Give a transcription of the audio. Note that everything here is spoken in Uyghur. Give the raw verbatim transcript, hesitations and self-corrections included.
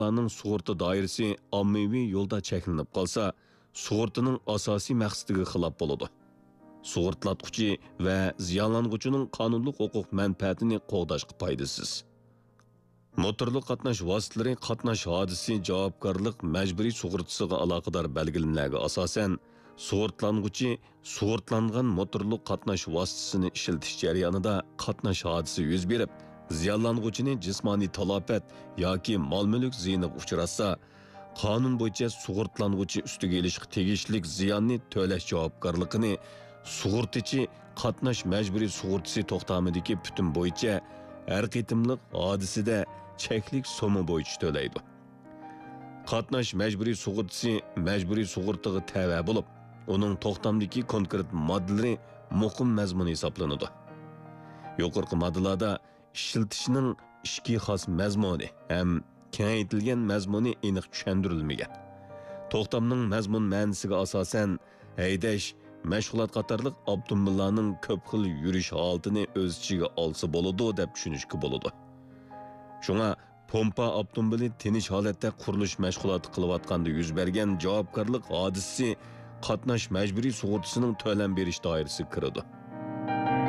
ئاپتوموبىللارنىڭ سۇغۇرتا دائىرىسى ئاممىۋى يولدا چەكلىنىپ قالسا، سۇغۇرتىنىڭ ئاساسىي مەقسىتىگە خىلاپ بولىدۇ. سۇغۇرتىلاتقۇچى ۋە زىيانلانغۇچىنىڭ قانۇنلۇق ھوقۇق مەنپەئەتىنى قوغداشقا پايدىسىز. موتورلۇق قاتناش ۋاسىتىلىرى قاتناش ھادىسىسى جاۋابكارلىق مەجبۇرىي سۇغۇرتىسىغا ئالاقىدار بەلگىلىمىلەرگە ئاساسەن، سۇغۇرتىلانغۇچى سۇغۇرتىلانغان موتورلۇق قاتناش ۋاسىتىسىنى ئىشلىتىش جەريانىدا قاتناش ھادىسىسى يۈز بېرىپ، زىيانلانغۇچىنى جىسمانىي تالاپەت ياكى مال-مۈلۈك زىيىنىغا ئۇچراتسا، قانۇن بويىچە سۇغۇرتىلانغۇچى ئۈستىگە ئېلىشقا تېگىشلىك زىياننى تۆلەش جاۋابكارلىقىنى سۇغۇرتىچى قاتناش مەجبۇرىي سۇغۇرتىسى توختامىدىكى پۈتۈم بويىچە ھەر قېتىملىق ھادىسىدە چەكلىك سومما بويىچە تۆلەيدۇ. قاتناش مەجبۇرىي سۇغۇرتىسى مەجبۇرىي سۇغۇرتىغا تەۋە بولۇپ، ئۇنىڭ توختامدىكى كونكرېت ماددىلىرى مۇقىم مەزمۇن ھېسابلىنىدۇ. يۇقىرىقى ماددىلاردا ئىشلىتىشنىڭ ئىچكى خاس مەزمۇنى ھەم كېڭەيتىلگەن مەزمۇنى ئېنىق چۈشەندۈرۈلمىگەن. توختامنىڭ مەزمۇن مەنىسىگە ئاساسەن، ھەيدەش، مەشغۇلات قاتارلىق ئاپتوموبىللارنىڭ كۆپ خىل يۈرۈش ھالىتىنى ئۆز ئىچىگە ئالسا بولىدۇ، دەپ چۈشىنىشكە بولىدۇ. شۇڭا پومپا ئاپتوموبىلى تىنچ ھالەتتە قۇرۇلۇش مەشغۇلاتى قىلىۋاتقاندا يۈز بەرگەن جاۋابكارلىق ھادىسىسى قاتناش مەجبۇرىي سۇغۇرتىسىنىڭ تۆلەم بېرىش دائىرىسىگە كىرىدۇ.